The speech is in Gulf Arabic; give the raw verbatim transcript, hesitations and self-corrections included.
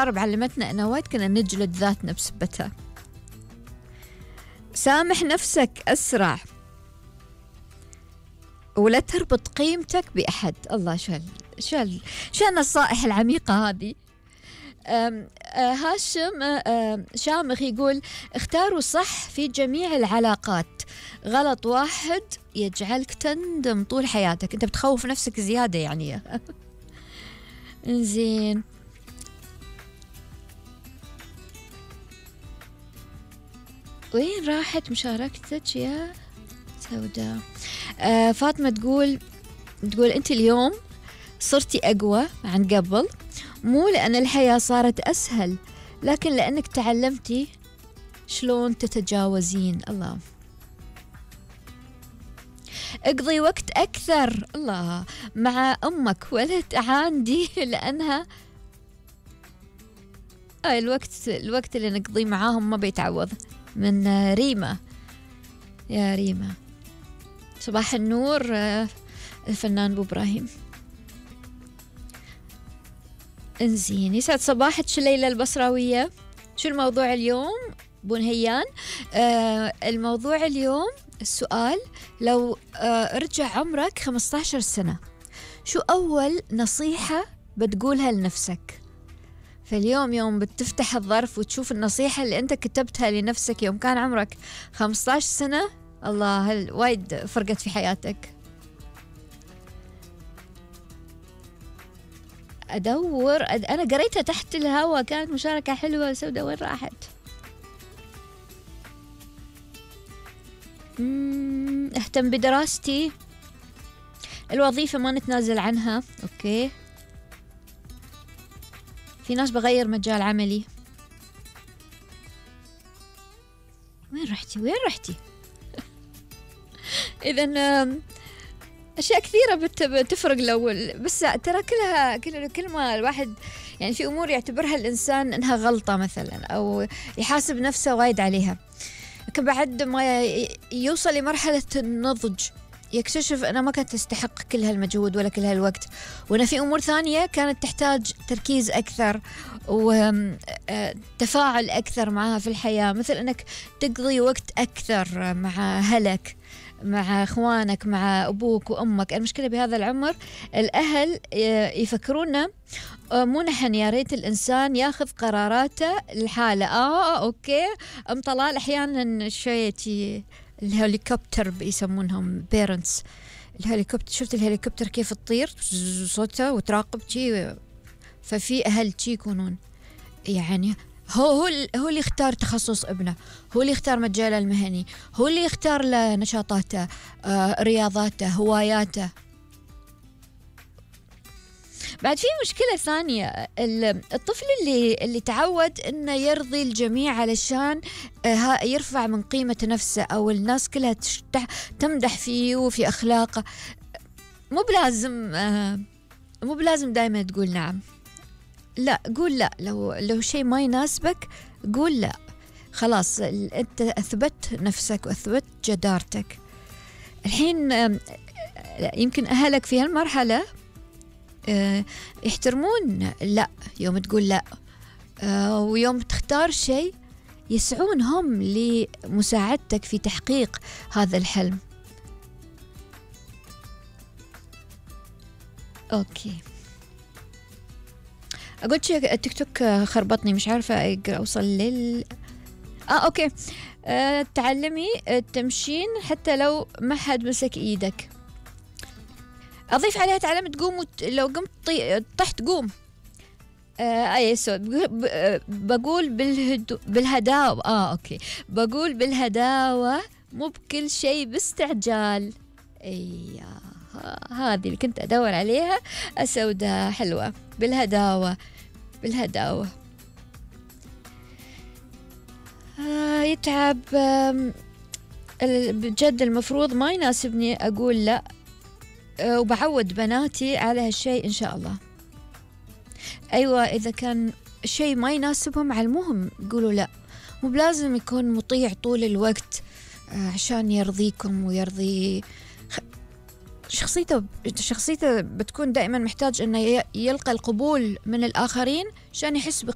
الحرب علمتنا أنه وايد كنا نجلد ذاتنا بسبتها. سامح نفسك أسرع، ولا تربط قيمتك بأحد. الله، شو شو شو النصائح العميقة هذه. أم أه هاشم أه شامخ يقول اختاروا صح في جميع العلاقات، غلط واحد يجعلك تندم طول حياتك. انت بتخوف نفسك زيادة يعني. زين، وين راحت مشاركتك يا سوداء؟ آه فاطمة تقول تقول انت اليوم صرتي أقوى عن قبل، مو لأن الحياة صارت أسهل، لكن لأنك تعلمتي شلون تتجاوزين. الله. اقضي وقت أكثر الله مع أمك ولا تعاندي، لأنها آه الوقت الوقت اللي نقضيه معاهم ما بيتعوض. من ريما. يا ريما صباح النور. الفنان أبو إبراهيم. انزين، يسعد صباحك ليلى البصراوية. شو الموضوع اليوم بو نهيان؟ آه الموضوع اليوم السؤال، لو آه رجع عمرك خمسة عشر سنة شو أول نصيحة بتقولها لنفسك؟ فاليوم يوم بتفتح الظرف وتشوف النصيحة اللي أنت كتبتها لنفسك يوم كان عمرك خمسة عشر سنة، الله هل وايد فرقت في حياتك. أدور أد... أنا قريتها تحت الهواء، كانت مشاركة حلوة. سودة وين راحت؟ مم... أهتم بدراستي، الوظيفة ما نتنازل عنها. أوكي. في ناس بغير مجال عملي. وين رحتي وين رحتي؟ إذن أشياء كثيرة بتفرق لو بس ترى كلها كل كل ما الواحد يعني في أمور يعتبرها الإنسان إنها غلطة مثلا أو يحاسب نفسه وايد عليها، لكن بعد ما يوصل لمرحلة النضج يكتشف أنا ما كانت تستحق كل هالمجهود ولا كل هالوقت، وأنا في أمور ثانية كانت تحتاج تركيز أكثر وتفاعل أكثر معها في الحياة، مثل أنك تقضي وقت أكثر مع أهلك، مع إخوانك، مع أبوك وأمك. المشكلة بهذا العمر الأهل يفكرونا مو نحن، يا ريت الإنسان ياخذ قراراته الحالة. آه أوكي أم طلال أحيانا شوية الهليكوبتر بيسمونهم بيرنتس، الهليكوبتر. شفت الهليكوبتر كيف تطير صوتها وتراقب شي؟ ففي أهل شي يكونون يعني هو هو هو اللي يختار تخصص ابنه، هو اللي يختار مجاله المهني، هو اللي يختار له نشاطاته، آه، رياضاته، هواياته. بعد في مشكلة ثانية، الطفل اللي اللي تعود إنه يرضي الجميع علشان يرفع من قيمة نفسه أو الناس كلها تمدح فيه وفي أخلاقه، مو بلازم مو بلازم دائما تقول نعم. لا، قول لا. لو لو شيء ما يناسبك قول لا. خلاص أنت أثبت نفسك وأثبت جدارتك. الحين يمكن أهلك في هالمرحلة يحترمون لا يوم تقول لا، ويوم تختار شيء يسعون هم لمساعدتك في تحقيق هذا الحلم. أوكي، أقول شيء، التيك توك خربطني مش عارفة أوصل لل آه أوكي. أه تعلمي التمشين حتى لو ما حد مسك إيدك. أضيف عليها تعلم تقوم وت... لو قمت طي... طحت قوم. آه أي سود بقول بالهدو... بالهداوة. آه أوكي بقول بالهداوة مو بكل شيء باستعجال. أي هذه اللي كنت أدور عليها. أسودة حلوة، بالهداوة بالهداوة. آه يتعب. آه بجد المفروض ما يناسبني أقول لا، وبعود بناتي على هالشيء إن شاء الله. أيوة، إذا كان شيء ما يناسبهم علموهم يقولوا لا، مو بلازم يكون مطيع طول الوقت عشان يرضيكم ويرضي شخصيته. شخصيته بتكون دائما محتاج أنه يلقى القبول من الآخرين عشان يحس بقيمته.